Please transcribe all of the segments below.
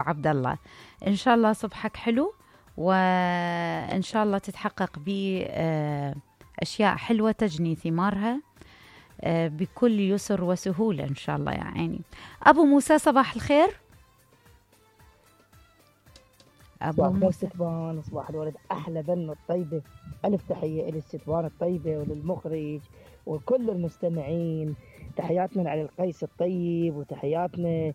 عبد الله. إن شاء الله صبحك حلو، وإن شاء الله تتحقق بأشياء حلوة تجني ثمارها بكل يسر وسهولة إن شاء الله يا عيني. أبو موسى صباح الخير. أبو موسى ستبان، صباح الورد، أحلى بن الطيبة، ألف تحية للستبان الطيبة وللمخرج وكل المستمعين. تحياتنا على القيس الطيب، وتحياتنا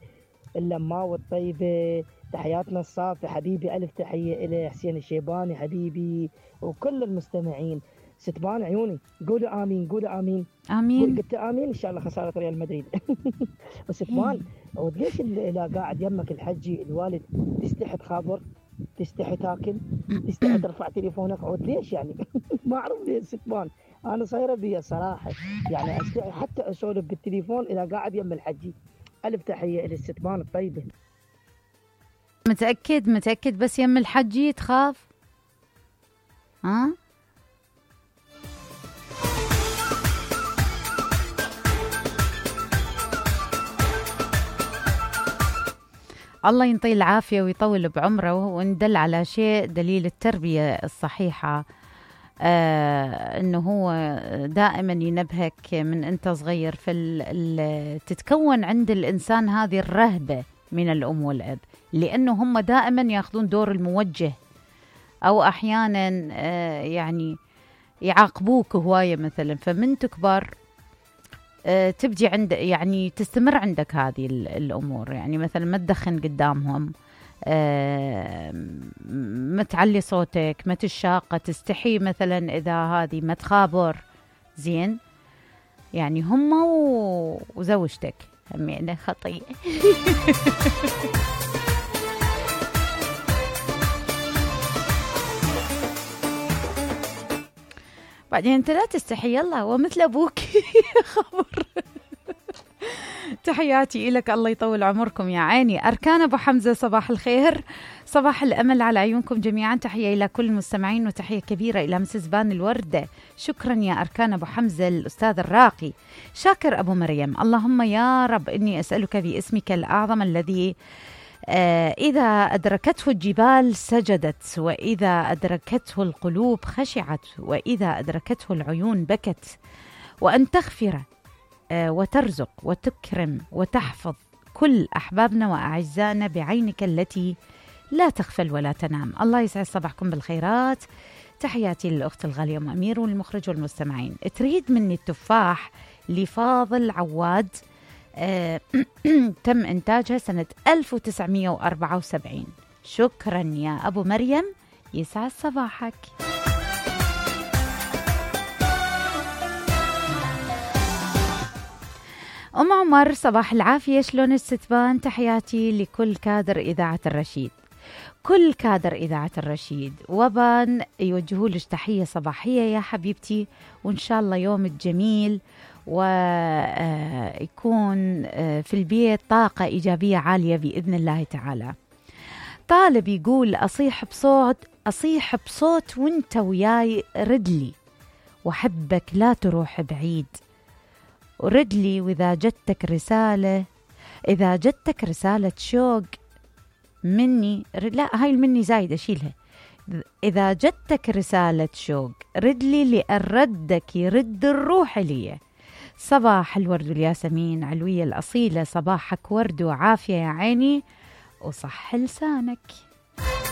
اللماوة الطيبة، تحياتنا الصافي حبيبي، ألف تحية إلى حسين الشيباني حبيبي وكل المستمعين. ستبان عيوني قولوا آمين، قولوا آمين آمين. قلت آمين إن شاء الله خسارة ريال مدريد. وستبان وليش إذا قاعد يمك الحجي الوالد تستحي تخابر، تستحي تاكل، تستحي ترفع تليفونك، عود ليش يعني؟ ما أعرف ليش ستبان، أنا صايرة بيا صراحة يعني أستحي حتى أسولف بالتليفون إذا قاعد يم الحجي. ألف تحية إلى الستبان الطيبة. متأكد بس يم الحجي تخاف؟ ها؟ الله ينطيه العافية ويطول بعمره، وندل على شيء دليل التربية الصحيحة، انه هو دائما ينبهك من انت صغير تتكون عند الانسان هذه الرهبة من الام والاب، لانه هم دائما ياخذون دور الموجه، او احيانا يعني يعاقبوك هواية مثلا، فمن تكبر تبدي عند يعني تستمر عندك هذه الأمور، يعني مثلا ما تدخن قدامهم، ما تعلي صوتك، ما تشاقة، تستحي مثلا إذا هذه ما تخابر زين، يعني هم وزوجتك همينة خطية. بعدين انت لا تستحي، يلا ومثل ابوك. خبر. تحياتي لك، الله يطول عمركم يا عيني. أركان أبو حمزة صباح الخير، صباح الأمل على عيونكم جميعا. تحية إلى كل المستمعين، وتحية كبيرة إلى مسز بان الوردة. شكرا يا أركان أبو حمزة الأستاذ الراقي. شاكر أبو مريم، اللهم يا رب إني أسألك باسمك الأعظم الذي إذا أدركته الجبال سجدت، وإذا أدركته القلوب خشعت، وإذا أدركته العيون بكت، وأن تغفر وترزق وتكرم وتحفظ كل أحبابنا وأعزائنا بعينك التي لا تغفل ولا تنام. الله يسعد صباحكم بالخيرات. تحياتي للأخت الغالية أم أمير والمخرج والمستمعين. تريد مني التفاح لفاضل عواد، تم إنتاجها سنة 1974. شكرا يا أبو مريم، يسعد صباحك. أم عمر صباح العافية، شلون الستبان؟ تحياتي لكل كادر إذاعة الرشيد، كل كادر إذاعة الرشيد، وبان يوجهوا لك تحية صباحية يا حبيبتي، وإن شاء الله يومك جميل ويكون في البيت طاقة إيجابية عالية بإذن الله تعالى. طالب يقول أصيح بصوت وانت وياي، ردلي وحبك لا تروح بعيد، وردلي وإذا جتك رسالة شوق مني، لا هاي المني زايدة شيلها، إذا جتك رسالة شوق ردلي، لأن ردك يرد الروح لي. صباح الورد والياسمين علوية الأصيلة، صباحك ورد وعافية يا عيني وصح لسانك.